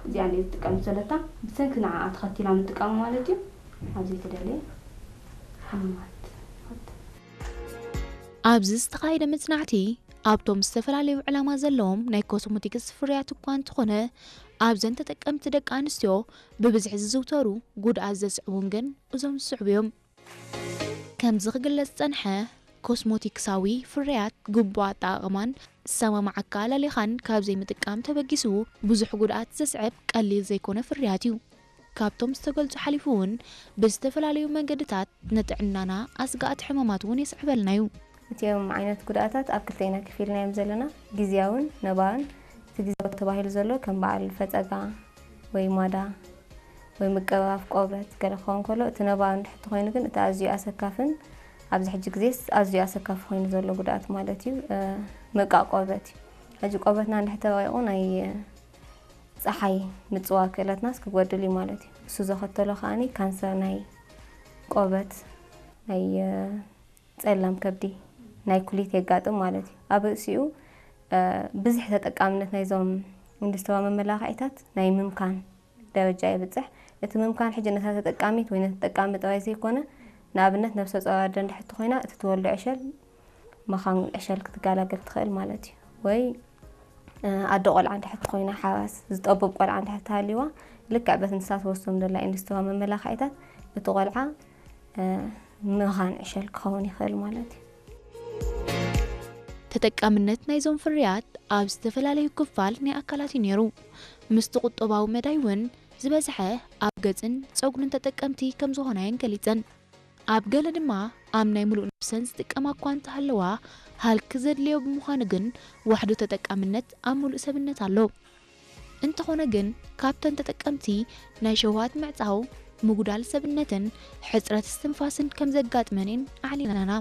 እዚኣ እየ ዝጥቀም ዘለታ። ብሰንኪ ንዓኣ ተኸቲላ ምጥቃሙ ማለት እዩ። ኣብ ዘይተደለየ ሕማማት። ኣብዚ ዝተኻየደ መጽናዕቲ ኣብቶም ዝተፈላለዩ ዕላማ ዘለዎም ናይ ኮስሞቲክስ ፍርያት እኳ እንተኾነ ኣብዘን ተጠቀምቲ ደቂ ኣንስትዮ ብብዝሒ ዝዝውተሩ ጉድኣት ዘስዕቡን ግን እዞም ዝስዕቡ እዮም። ከምዚ ክግለጽ ዝጸንሐ ኮስሞቲክሳዊ ፍርያት ግቡእ ኣጠቓቕማን ዝሰማማዓካ ኣላሊኻን ካብ ዘይምጥቃም ተበጊሱ ብዙሕ ጉድኣት ዘስዕብ ቀሊል ዘይኮነ ፍርያት እዩ። ካብቶም ዝተገልጹ ሓሊፉ እውን ብዝተፈላለዩ መንገድታት ንጥዕናና ኣስጋእቲ ሕማማት እውን የስዕበልና እዩ። እቲኦም ዓይነት ጉድኣታት ኣብ ክልተ ኢና ከፊልናዮም ዘለና፣ ግዝያውን ነባርን። እቲ ግዝያዊ ተባሂሉ ዘሎ ከም በዓል ፈጸጋ ወይ ማዳ ወይ ምቅባፍ ቆበት ገለ ክኸውን ከሎ፣ እቲ ነባሪ እንድሕር ተኾይኑ ግን እቲ ኣዝዩ ኣሰካፍን ኣብዚ ሕጂ ግዜስ ኣዝዩ ኣሰካፊ ኮይኑ ዘሎ ጉድኣት ማለት እዩ ምብቃቕ ቆበት እዩ። ሕጂ ቆበትና እንድሕር ተባቂቑ ናይ ጸሓይ ምጽዋር ክእለትናስ ክጎድል እዩ ማለት እዩ። እሱ ዘኸተሎ ከዓኒ ካንሰር ናይ ቆበት፣ ናይ ጸላም ከብዲ፣ ናይ ኩሊት የጋጥም ማለት እዩ። ኣብ ርእሲኡ ብዝሒ ተጠቃምነት ናይዞም ኢንዱስትሪያዊ መመላኽዒታት ናይ ምምካን ደረጃ የብጽሕ። እቲ ምምካን ሕጂ ነታ ተጠቃሚት ወይ ነቲ ተጠቃሚ ጥራይ ዘይኮነ፣ ንኣብነት ነብሰ ጾር ኣደ እንድሕር ተኾይና እቲ ትወልዶ ዕሸል መኻን ዕሸል ክትገላገል ትኽእል ማለት እዩ። ወይ ኣደ ቆልዓ እንድሕር ተኾይና ሓራስ ዝጠብብ ቆልዓ እንድሕር ተሃልይዋ ልክዕ በቲ ንሳ ትወስዶም ዘላ ኢንዱስትሪያዊ መመላኽዒታት እቲ ቆልዓ መኻን ዕሸል ክኸውን ይኽእል ማለት እዩ። ተጠቃምነት ናይዞም ፍርያት ኣብ ዝተፈላለዩ ክፋል ናይ ኣካላት እዩ ነይሩ። ምስቲ ቁጠባዊ መዳይ እውን ዝበዝሐ ኣብ ገጽን ጸጉርን ተጠቀምቲ ከም ዝኾና እየን ገሊጸን። ኣብ ገለ ድማ ኣብ ናይ ምሉእ ነብሰን ዝጥቀማ እኳ እንተሃለዋ ሃልኪ ዘድልዮ ብምዃኑ ግን ዋሕዶ ተጠቃምነት ኣብ ምሉእ ሰብነት ኣሎ። እንተኾነ ግን ካብተን ተጠቀምቲ ናይ ሸውሃት ምዕጻው፣ ምጉዳል ሰብነትን ሕጽረት እስትንፋስን ከም ዘጋጥመን እየን ኣዕሊለናና።